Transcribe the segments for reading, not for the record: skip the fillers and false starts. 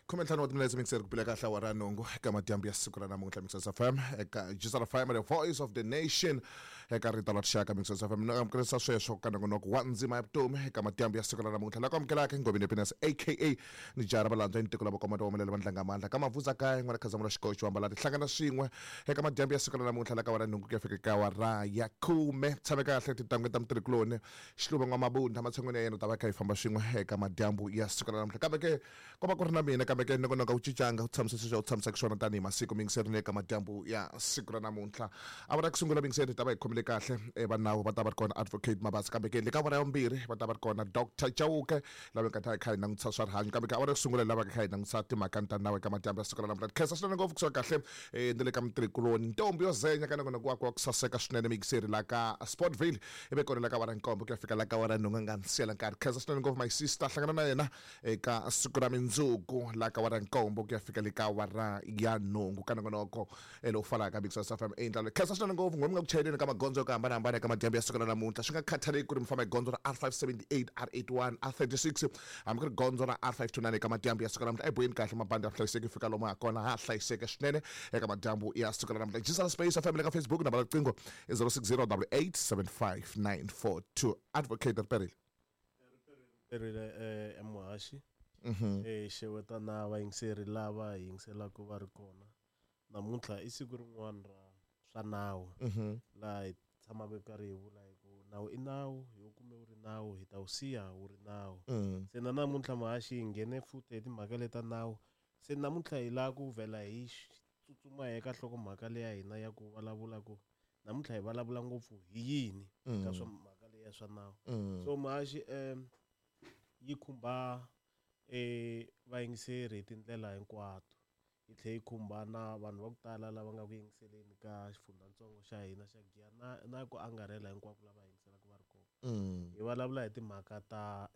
15 wa timinetse mixer ku pila kahle awara ya nhungu eka madyambu ya siku ra namuntlha. Mixers FM eka Jisara FM, the voice of the nation, eka rito la rixaka Mixers FM. No amukelisa sweswo ka nongonoko wa ndzima ya vutomi eka madyambu ya siku ra namuntlha. La ku amukelaka Ngobeni Happiness aka ni jara valandza ni tiko la vakomata womelela vandlanga mandla ka mavuza kaya n'wana khazamula xikoxo ambala tihlangana swin'we eka madyambu ya siku ra namuntlha la ka wara nhungu ku ya fika ka wara ya khume. Tshame kahle titangwe ta mutirhikuloni Xiluva N'wamabunda matshan'wini ya yena u ta va kha hi famba swin'we eka madyambu ya siku ra namuntlha. Kambe ke ko va ku ri na mina, kambe ke nongonoko wu cincanga, wu tshamisa sweswi a wu tshamisaka swona tanihi masiku miyingiserini eka madyambu ya siku ra namuntlha. Awara ya ku sungula miyingiseri hi ta va hi khomile kahle e va nawu va ta va ri kona Advocate Mabasa, kambe ke le ka awara ya vumbirhi va ta va ri kona Doctor Chauke lava nga ta hi kha hi langutisa swa rihanyo. Kambe ke awara ya ku sungula hi lava kha hi langutisa timhaka ta nawu eka madyambu ya siku ra namuntlha. Khensa swinene ngopfu kusuka kahle e ni le ka mutirhikuloni ntombi yo zenya ka nongonoko wakwe wa ku saseka swinene miyingiseri la ka Sportville ivi kona la ka awara nkombo ku ya fika la ka awara nhungu a nga ni siyela nkarhi. Khensa swinene ngopfu my sister, hlangana na yena eka siku ra mindzuku la ka awara nkombo ku ya fika le ka awara ya nhungu ka nongonoko lowu falaka Big Source FM endla. Khensa swinene ngopfu n'we mi nga ku chayeleni ka magondzo yo ku hambanahambana eka madyambu ya siku ra namuntlha, swi nga khathaleki ku ri mi famba hi gondzo ra R578, R81, R36 hambi ku ri gondzo ra R529 eka madyambu ya siku ra namuntlha. Eboyeni kahle mabandi ya hlayiseki fika lomu ha kona ha hlayiseke swinene eka madyambu ya siku ra namuntlha. Jisala Space FM le ka Facebook, nambara riqingho i 060 8875942. Advocate Riperile. Perile emuhaxi. Xeweta na vayingiseri lava hi yingiselaka va ri kona. Namuntlha i siku rin'wana ra swa nawu laha hi tshamaka hi karhi hi vula hi ku nawu i nawu, hi wu kume wu ri nawu, hi ta wu siya wu ri nawu. Se na namuntlha muhaxi hi nghene futhi hi timhaka leta nawu. Se namuntlha hi lava ku vhela hi tsutsuma eka nhlokomhaka leya hina ya ku vulavula ku namuntlha hi vulavula ngopfu hi yini ka swa mhaka leya swa nawu. So muhaxi yi khumba vayingiseri hi tindlela hinkwato, yi tlhela yi khumba na vanhu va ku tala lava nga ku yingiseleni ka xifundzhantsongo xa hina xa Giyani na ku angarhela hinkwako lava yingiselaka va ri kona. Hi vulavula hi timhaka ta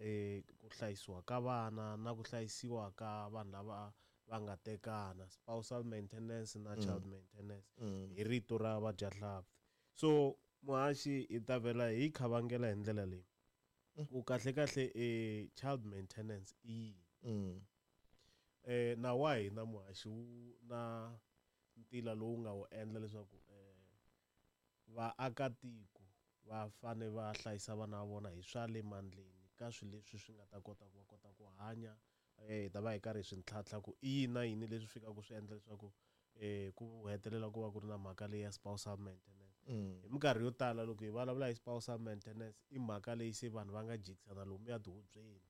ku hlayisiwa ka vana na ku hlayisiwa ka vanhu lava va nga tekana, spousal maintenance na child maintenance hi rito ra vadyahlampfi. So muhaxi hi ta vhela hi khavangela hi ndlela leyi ku kahle kahle child maintenance i yini. Nawu wa hina muhaxi wu na ntila lowu nga wu endla leswaku vaakatiko va fane va hlayisa vana va vona hi swa le mandleni ka swilo leswi swi nga ta kota ku va kota ku hanya. Hi ta va hi karhi hi swi ntlhantlha ku i yini na yini leswi fikaka swi endla leswaku ku hetelela ku va ku ri na mhaka leyi ya spousal maintenance. Hi minkarhi yo tala loko hi vulavula hi spousal maintenance i mhaka leyi se vanhu va nga jikisana lomuya tihubyeni.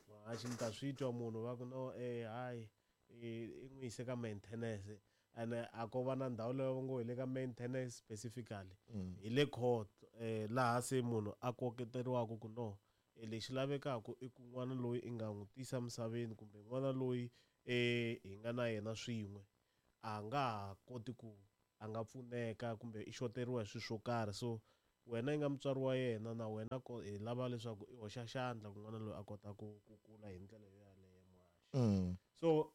Muhaxi mi ta swi twa munhu va ku no hayi i n'wi yise ka maintenance, ene a ko va na ndhawu leyi va ngo hi le ka maintenance specifically, hi le court laha se munhu a koketeriwaka ku no lexi lavekaka i ku n'wana loyi i nga n'wi tisa misaveni kumbe n'wana loyi hi nga na yena swin'we a nga ha koti ku a nga pfuneka kumbe i xoteriwa hi swilo swo karhi. So wena i nga mutswari wa yena na wena hi lava leswaku i hoxa xandla ku n'wana loyi a kota ku kula hi ndlela yo yaleyo muhaxi. So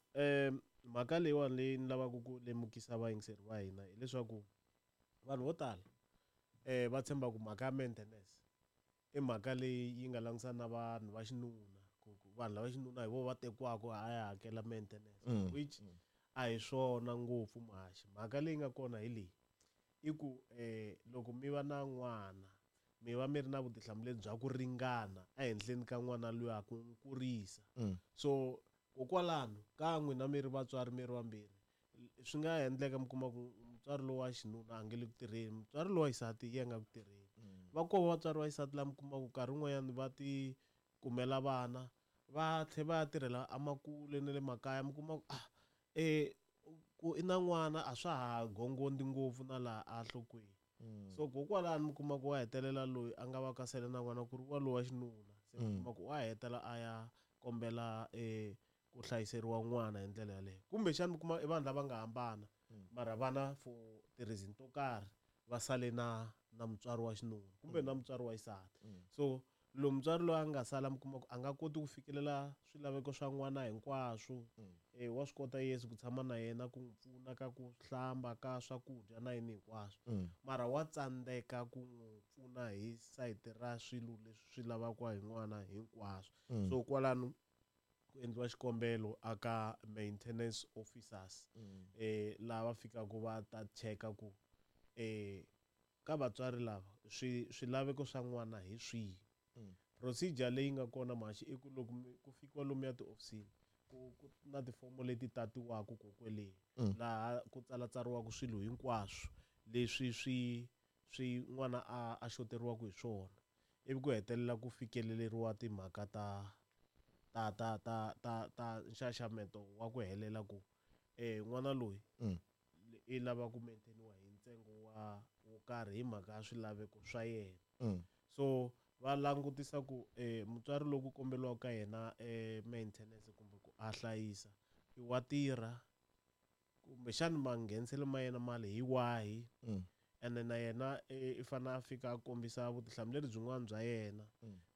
mhaka leyiwani leyi ni lavaka ku lemukisa vayingiseri va hina hileswaku vanhu vo tala va tshemba ku mhaka ya maintenance i mhaka leyi yi nga langutisana na vanhu va xinuna, ku vanhu lava xinuna hi vona va tekiwaka a ya hakela maintenance, which a hi swona ngopfu muhaxi. Mhaka leyi nga kona hi leyi i ku loko mi va na n'wana mi va mi ri na vutihlamuleri bya ku ringana ehenhleni ka n'wana luya ku n'wi kurisa. So kokwalano ka n'wina mi ri vatswari mi ri vambirhi swi nga endleka mi kuma ku mutswari lowa xinuna a nge le ku tirheni, mutswari lowa xisati ye nga ku tirheni. Va kona vatswari va xisati lava mi kumaka nkarhi wun'wanyana va ti kumela vana va tlhela va ya tirhela emakule na le makaya, mi kuma ku ku i na n'wana a swa ha gongondi ngopfu na laha a nhlokweni. So kokwalano mi kuma ku wa hetelela loyi a nga va ka sele na n'wana ku ri wa lowa xinuna, se mi kuma ku wa hetela a ya kombela ku hlayiseriwa n'wana hi ndlela yaleyo. Kumbexana mi kuma i vanhu lava nga hambana mara vana for ti-reason to karhi va sale na mutswari wa xinuna kumbe na mutswari wa xisati. So lowu mutswari loyi a nga sala mi kuma ku a nga koti ku fikelela swilaveko swa n'wana hinkwaswo. Wa swi kota Yesu ku tshama na yena ku n'wi pfuna ka ku hlamba ka swakudya na yini hinkwaswo, mara wa tsandzeka ku n'wi pfuna hi sayiti ra swilo leswi swi lavaka hi n'wana hinkwaswo. So kwalano Ku endliwa xikombelo aka maintenance officers lava fikaka va ta cheka ku ka vatswari lava swilaveko swa n'wana hi swihi. Procedure leyi nga kona maxi i ku loko ku fikiwa lomuya tihofisini ku na tifomo leti tatiwaka kokweleni laha ku tsalatsariwaka swilo hinkwaswo leswi swi n'wana a xoteriwaka hi swona, ivi ku hetelela ku fikeleriwa timhaka ta ta ta ta ta ta nxaxameto wa ku helela ku n'wana loyi i lava ku maintainiwa hi ntsengo wa wo karhi hi mhaka ya swilaveko swa yena. So va langutisa ku mutswari loko komberiwaka ka yena maintenance kumbe ku a hlayisa i wa tirha kumbexani mangheniselo ma yena mali hi wahi, ene na yena i fanele a fika a kombisa vutihlamuleri byin'wana bya yena.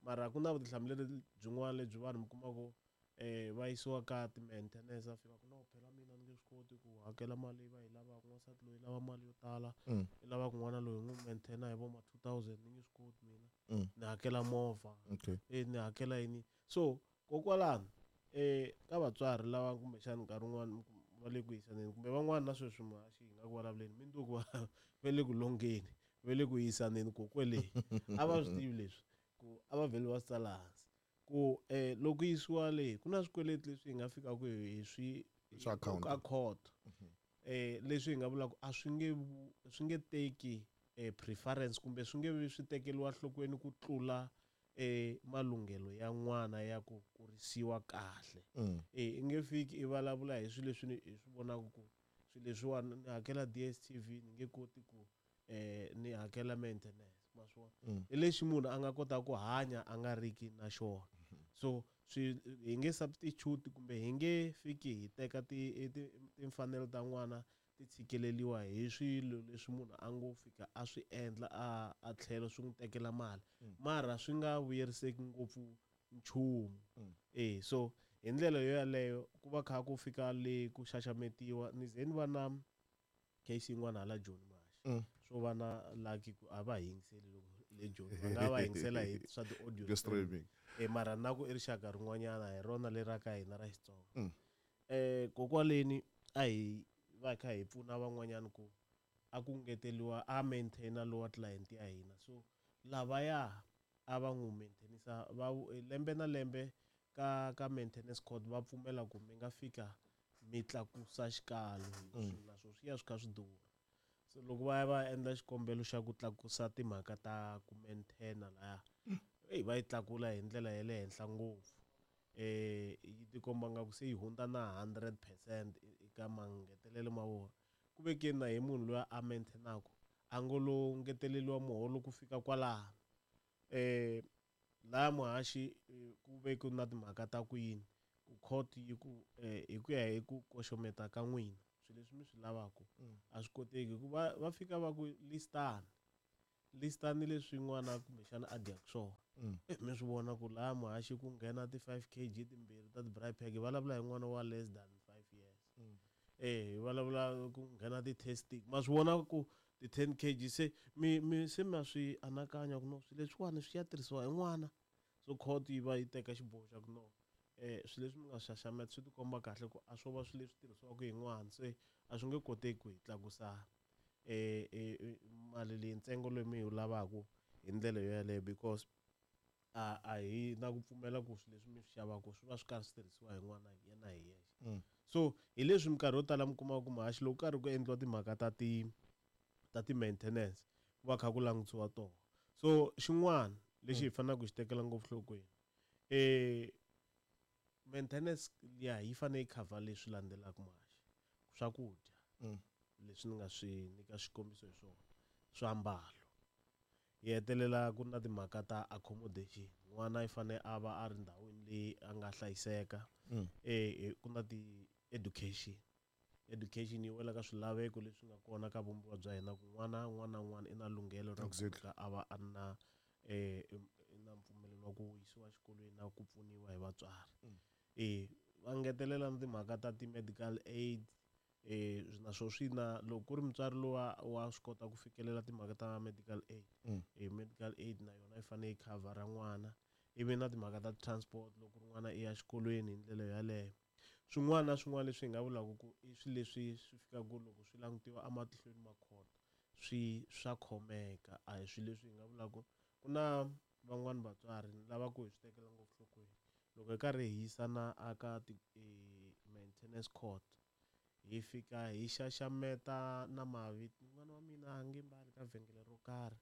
Mara ku na vutihlamuleri byin'wana lebyi vanhu mi kuma ku va yisiwa ka ti-maintenance, a fika ku no phela mina ni nge swi koti ku hakela mali leyi va yi lavaka, n'wansati loyi lava mali yo tala, i lava ku n'wana loyi n'wi maintain hi vo ma 2000, ni nge swi koti mina, ni hakela movha, ni hakela yini. So kokwalano ka vatswari lava kumbexani nkarhi wun'wani va le ku yisaneni kumbe van'wani na sweswi muhaxi hi nga ku vulavuleni mindzuku va le ku longeni, va le ku yisaneni kokwele, a va swi tivi leswi ku a va vheli va swi tsala hansi ku loko yisiwa le ku na swikweleti leswi hi nga fikaka hi swi ka court, leswi hi nga vulaka a swi nge swi nge teki preference kumbe swi nge vi swi tekeriwa nhlokweni ku tlula malunghelo ya n'wana ya ku kurisiwa kahle. I nge fiki i vulavula hi swilo leswi hi swi vonaka ku swilo leswiwani ni hakela DSTV ni nge koti ku ni hakela maintenance, ma swi vona, hi lexi munhu a nga kota ku hanya a nga riki na xona. So swi hi nge substitute kumbe hi nge fiki hi teka timfanelo ta n'wana ti tshikeleriwa hi swilo leswi munhu a ngo fika a swi endla a tlhelo swi n'wi tekela mali, mara swi nga vuyeriseki ngopfu nchumu. So hi ndlela yo yaleyo ku va kha ku fika le ku xaxametiwa. Ni ze ni va na case yin'wana hala Joni Mashi, swo va na lucky ku a va yingiseli loko le Joni, va nga va yingisela hi swa ti-audio streaming, mara na ku i rixaka rin'wanyana hi rona leri ra ka hina ra Xitsonga. Kokwaleni a hi va kha hi pfuna van'wanyana ku a ku ngeteliwa a maintaina lowa client ya hina, so lavaya a va n'wi maintainisa va lembe na lembe ka maintenance court va pfumela ku mi nga fika mi tlakusa xikalo, naswona swi ya swi kha swi durha. So loko va ya va endla xikombelo xa ku tlakusa timhaka ta ku maintaina laya, va yi tlakula hi ndlela ya le henhla ngopfu, yi tikomba nga ku se yi hundza na 100% eka mangetelelo ma vona. Ku vekeni na hi munhu loyi a maintainaka a ngo lo ngeteleriwa muholo ku fika kwalano. Laha muhaxi ku ve ku na timhaka ta ku yini ku court yi ku hi ku ya hi ku koxometa ka n'wina swilo leswi mi swi lavaka a swi koteki, hikuva va fika va ku listani leswi n'wana kumbexana a dyaka swona. Mi swi vona ku laha muhaxi ku nghena ti 5 kg timbirhi ta ti-braai pack, vulavula hi n'wana wa less than 5 years. Hi vulavula ku nghena ti-testing, ma swi vona ku ti 10 kg se mi se ma swi anakanya ku no swilo leswiwani swi ya tirhisiwa hi n'wana. So court yi va yi teka xiboho xa ku no swilo leswi mi nga xaxameta swi tikomba kahle ku a swo va swilo leswi tirhisiwaka hi n'wana, se a swi nge koteki ku hi tlakusa mali leyi ntsengo lowu mi yi lavaka hi ndlela yo yaleyo, because a hi na ku pfumela ku swilo leswi mi swi xavaka swi va swi karhi swi tirhisiwa hi n'wana yena hi yexe. So hi leswi minkarhi yo tala mi kumaka ku muhaxi loko karhi ku endliwa timhaka ta ti maintenance ku va kha ku langutisiwa tona. So xin'wana lexi hi faneleke ku xi tekela ngopfu nhlokweni, maintenance ya yi fanele yi cover leswi landzelaka muhaxi: swakudya leswi ni nga swi nyika xikombiso hi swona, swiambalo, yi hetelela ku na timhaka ta accommodation, n'wana i fanele a va a ri ndhawini leyi a nga hlayiseka. Ku na ti-education, education yi wela ka swilaveko leswi nga kona ka vumbiwa bya hina ku n'wana un'wana na un'wana i na lunghelo ra ku a va a na na mpfumelelo wa ku yisiwa exikolweni na ku pfuniwa hi vatswari. Va ngetelela na timhaka ta ti-medical aid, naswo swi na loko ku ri mutswari lowa wa swi kota ku fikelela timhaka ta medical aid, medical aid na yona yi fanele yi khavhara n'wana. Ivi na timhaka ta transport loko ri n'wana i ya xikolweni hi ndlela yaleyo. Swin'wana na swin'wana leswi hi nga vulaka ku i swilo leswi swi fikaka loko swi langutiwa ematihlweni ma court swi swa khomeka, a hi swilo leswi hi nga vulaka ku na van'wani vatswari ni lava ku hi swi tekela ngopfu nhlokweni. Loko hi karhi hi yisana aka ti-maintenance court hi fika hi xaxameta na mavito, n'wana wa mina a nge mbali ka vhengele ro karhi,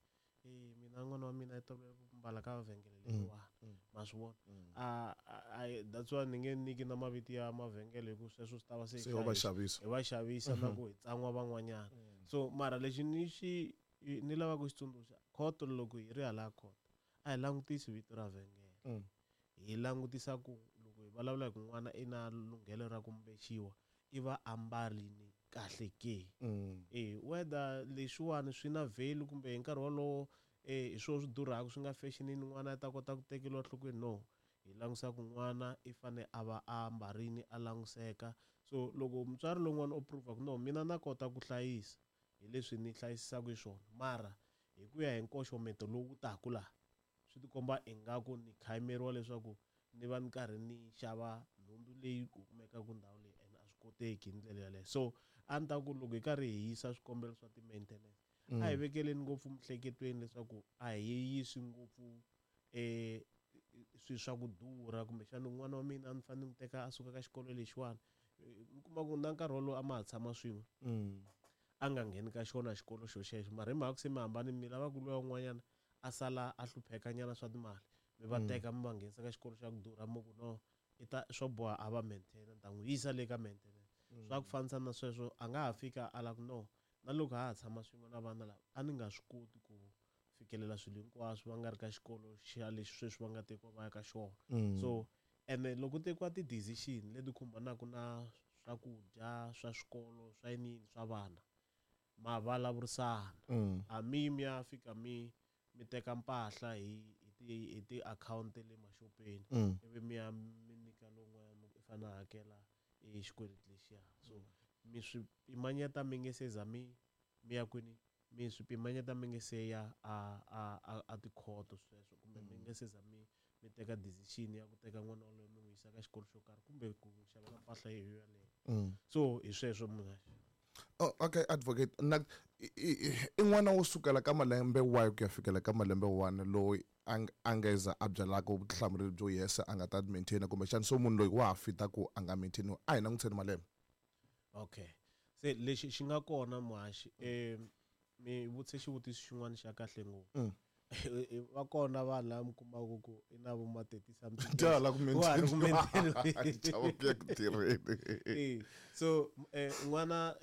mina n'wana wa mina i tolovele ku mbala ka vhengele leriwani, ma swi vona. A that's why ni nge nyiki na mavito ya mavhengele hi ku sweswo swi ta va se Se wa va xavisa. Hi va xavisa na ku hi tsan'wa van'wanyana. So mara lexi ni xi ni lava ku xi tsundzuxa court, loko hi ri hala court a hi langutisi vito ra vhengele, hi langutisa ku loko hi vulavula hi ku n'wana i na lunghelo ra ku mbexiwa i va ambarini kahle ke. Whether leswiwani swi na value kumbe hi nkarhi wolowo hi swona swi durhaka swi nga fashionini n'wana a ta kota ku tekeriwa enhlokweni, no. Hi langutisa ku n'wana i fane a va a ambarini a languseka. So loko mutswari lowun'wana o prove ku no mina na kota ku hlayisa hi leswi ni hlayisisaka hi swona, mara hi ku ya hi nkoxometo lowu taka laha swi tikomba ingaku ni khayimeriwa leswaku ni va ni karhi ni xava nhundzu leyi kumekaka ndhawu leyi and a swi koteki hi ndlela yaleyo. So a ni ta ku loko hi karhi hi yisa swikombelo swa ti-maintenance a hi vekeleni ngopfu miehleketweni leswaku a hi yisi ngopfu swilo swa ku durha kumbexana n'wana wa mina a ni fanele ni n'wi teka a suka ka xikolo lexiwani, mi kuma ku na nkarhi wolowo a ma ha tshama swin'we a nga ngheni ka xona xikolo xo xexo, mara hi mhaka ku se mi hambane mi lava ku luya un'wanyana a sala a hlupheka nyana swa timali mi va teka mi va nghenisa ka xikolo xa ku durha mi ku no i ta swo boha a va maintain ni ta n'wi yisa le ka maintenance. Swa ku fanisa na sweswo a nga ha fika a la ku no na loko ha ha tshama swin'we na vana lava a ni nga swi koti ku fikelela swilo hinkwaswo va nga ri ka xikolo xa lexi sweswi va nga tekiwa va ya ka xona. So ene loko ku tekiwa ti-decision leti khumbanaka na swakudya swa swikolo swa yiniyini swa vana ma vulavurisana, a mi mi ya fika mi mi teka mpahla hi ti-account le maxopeni ivi mi ya mi nyika lowun'wanyana i fanele a hakela e xikweleti lexiya. So mi swi pimanyeta mi nge se za mi mi ya kwini, mi swi pimanyeta mi nge se ya a tikhoto sweswo kumbe mi nge se za mi mi teka decision ya ku teka n'wana waloye mi n'wi yisa ka xikolo xo karhi kumbe ku n'wi xavela mpahla yo yaleyo. So hi sweswo munhu. Oh, okay, advocate na i n'wana wo sukela ka malembe wahi ku ya fikela ka malembe wani loyi a nga za a byalaka vutihlamuleri byo yesa a nga ta maintain, kumbexana so munhu loyi wa ha fita ku a nga maintainiwa, a hi langutiseni malembe. Okay, se lexi xi nga kona muhaxi, mi vutise xivutiso xin'wana xa kahle ngopfu. Va kona vanhu lava mi kumaka ku i na vo ma 30 something Tala ku wa ha ri ku maintainiwa. Maintainiwa. Chava ku ya ku tirheni. So n'wana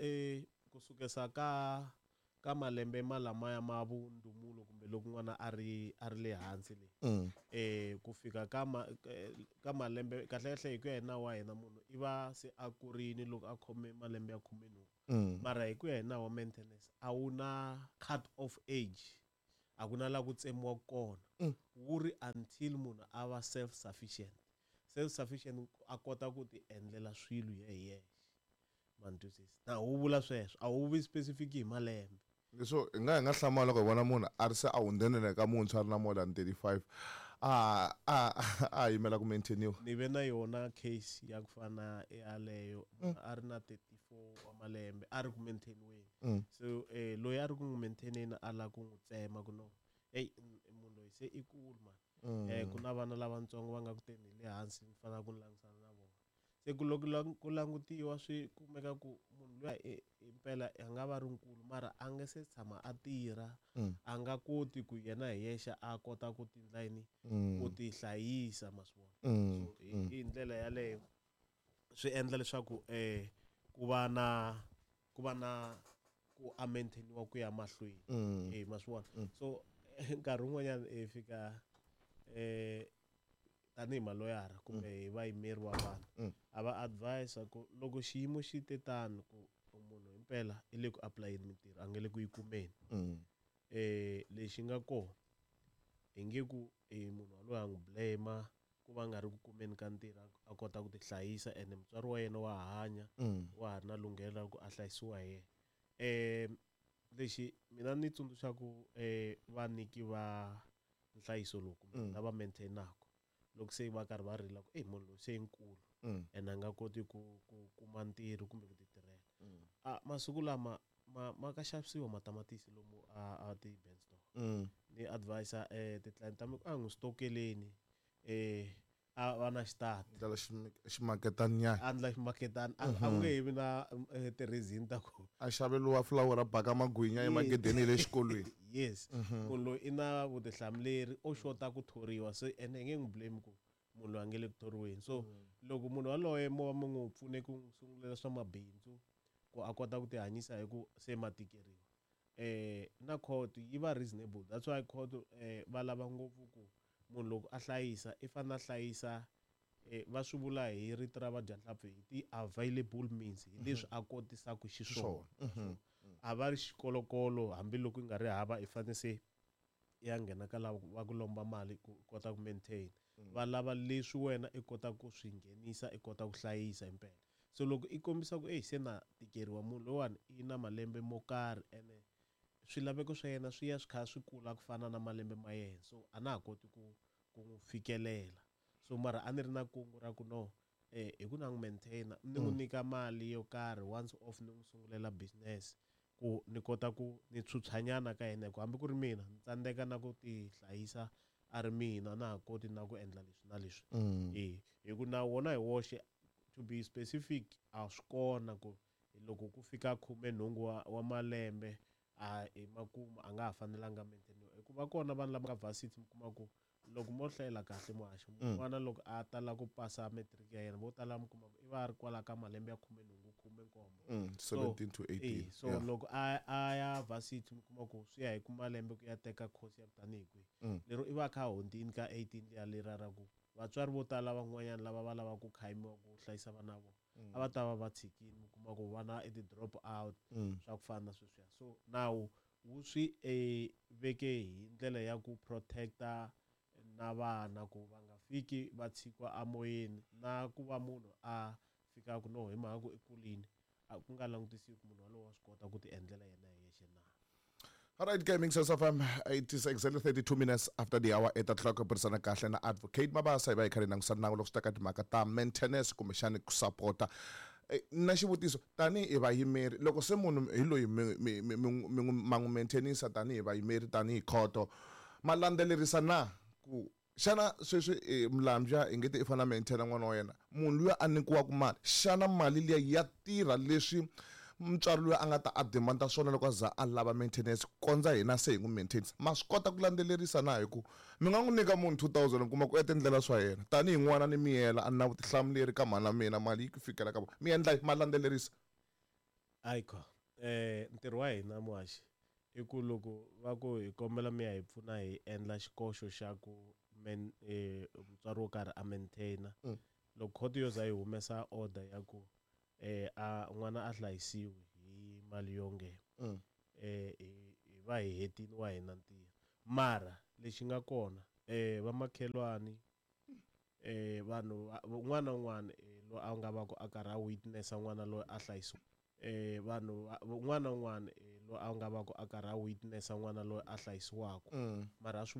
kusukesa ka malembe malamaya ma vundumulo kumbe loko n'wana a ri le hansi le ku fika ka ka malembe kahle kahle hi ku ya hi nawu wa hina munhu i va se a kurini loko a khome malembe ya 18. Mara hi ku ya hi nawu wa maintenance a wu na cut off age, a ku na la ku tsemiwa kona, wu ri until munhu a va self sufficient. Self sufficient a kota ku ti endlela swilo hi yexe, ma ni twisisa na wu vula sweswo, a wu vi specific hi malembe. Leswo hi nga hlamala loko hi vona munhu a ri se a hundzenele ka muntshwa a ri na more than 35 a yimela ku maintainiwa. Ni ve na yona case ya ku fana yaleyo, munhu a ri na 34 wa malembe a ri ku maintainiweni. So loyi a ri ku n'wi maintaineni a lava ku n'wi tsema ku no ey munhu loyi se i kulu man, ku na vana lavatsongo va nga ku teni hi le hansi ni fanele ku ni langutisana na vona. Se ku loko ku langutiwa swi kumeka ku munhu luya himpela a nga va ri nkulu mara a nga se tshama a tirha, a nga koti ku yena hi yexe a kota ku ti endla yini, ku ti hlayisa, ma swi vona. So hi ndlela yaleyo swi endla leswaku ku va na ku a maintainiwa ku ya mahlweni. Ma swi vona. So nkarhi wun'wanyana hi fika tanihi maloyara kumbe hi vayimeri wa vanhu a va advise ku loko xiyimo xi te tano ku munhu himpela i le ku apulayeni mintirho a nga le ku yi kumeni, lexi nga kona hi nge ku munhu waloye a n'wi blame ku va nga ri ku kumeni ka ntirho a kota ku ti hlayisa ene mutswari wa yena wa hanya, wa ha ri na lunghelo ra ku a hlayisiwa hi yena. Lexi mina ni tsundzuxaku vanyiki va nhlayiso lowu kumbe lava maintainaka Loko se va karhi va rila ku, "Ey, munhu loyi se i nkulu ene a nga koti ku kuma ntirho kumbe ku ti tirhela." A masiku lama ma ka xavisiwa matamatisi lomu a ti-ben store. Ni advisa ti-client ta mina ku a n'wi stokeleni, a va na xitati. Ndlela ximaketanyana. A ndla ximaketana, a nge he vi na ti-reason ta ku a xaveliwa fulawura, baka magwinya emagedeni ya le xikolweni. Yes, munhu loyi i na vutihlamuleri, o xota ku thoriwa, se ene hi nge n'wi blame ku munhu loyi a nge le ku thoriweni. So loko munhu yaloye mo va mo n'wi pfune ku n'wi sungulela swa mabindzu ku a kota ku ti hanyisa, hi ku se ma tikeriwa, na court yi va reasonable. That's why court va lava ngopfu ku munhu loko a hlayisa, i fanele a hlayisa, va swi vula hi rito ra vadyanhlampfi hi ti-available means, hi leswi a kotisaka xiswona. A va ri xikolokolo, hambiloko yi nga ri hava, i fanele se ya nghena ka lava va ku lomba mali ku kota ku maintain. Va lava leswi wena i kota ku swi nghenisa, i kota ku hlayisa impela. So loko i kombisa ku, "Eyi, se na tikeriwa, munhu loyiwani i na malembe mo karhi, ene swilaveko swa yena swi ya swi kha swi kula ku fana na malembe ma yena, so a na ha koti ku n'wi fikelela, so mara a ni ri na kungu ra ku no, hi ku na n'wi maintaina, ni n'wi nyika mali yo karhi once off, ni n'wi sungulela business ku ni kota ku ni tshutshwanyana ka yena, hi ku hambi ku ri mina ni tsandzeka na ku ti hlayisa, a ri mina na ha koti na ku endla leswi na leswi." E hi ku na wona hi woxe, to be specific, a swi kona ku loko ku fika 18 wa malembe, a hi makumu a nga ha fanelanga maintainiwa, hikuva kona vanhu lava nga varsity, mi kuma ku loko mo hlayela kahle, muhaxi, n'wana loko a tala ku pasa matric ya yena, vo tala mi kuma ku i va a ri kwala ka malembe ya 18, 17. 17 to 18. Eh, so loko a ya varsity, mi kuma ku swi ya hi ku malembe ku ya teka course ya ku tanihi kwihi, lero i va a kha a hundzini ka 18 liya lera ra ku vatswari vo tala van'wanyana lava va lavaka ku khayimiwa ku hlayisa vana va vona, a va ta va va tshikini. Mi kuma ku vana i ti-drop out, swa ku fana na sweswiya. So nawu wu swi veke hi ndlela ya ku protecta na vana ku va nga fiki va tshikiwa amoyeni, na ku va munhu a fika ku no, hi mhaka ku i kulini, a ku nga langutisiwi ku munhu walowo wa swi kota ku ti endlela yena hi yexe na. All right, Gaming Source FM, it is exactly 32 minutes after the hour 8 o'clock. Burisana kahle na Advocate Mabasa, hi va hi kha hi langusa nawu loko swi ta ka timhaka ta maintenance kumbexani ku sapota. Na xivutiso, tanihi vayimeri, loko se munhu hi loyi mi ma n'wi maintainisa tanihi vayimeri, tanihi khoto, ma landzelerisa na ku xana sweswi mulambya hi nge te i fanele a maintaina n'wana wa yena, munhu luya a nyikiwaka mali, xana mali liya ya tirha leswi mutswari luya a nga ta a demanda swona loko a za a lava maintenance, kondza hina se hi n'wi maintainisa? Ma swi kota ku landzelerisa na? Hi ku mi nga n'wi nyika munhu 2000, u kuma ku etindlela swa yena tanihi n'wana ni miyela, a ni na vutihlamuleri ka mhana mina, mali yi ku fikela ka vona, mi endla ma landzelerisa? Ayikho, ntirho wa hina, muhaxi, i ku loko va ku hi kombela mi ya hi pfuna hi endla xikoxo xa ku men mutswari wo karhi a maintaina, loko khoto yo za yi humesa order ya ku a n'wana a hlayisiwi hi mali yo nghena, hi va hi hetini wa hina ntirho. Mara lexi nga kona, vamakhelwani, vanhu un'wana na un'wana loyi a nga va ku a karhi a witnessa n'wana loyi a hlayisiwa, vanhu un'wana na un'wana loyi a nga va ku a karhi a witnessa n'wana loyi a hlayisiwaka, mara a swi vona.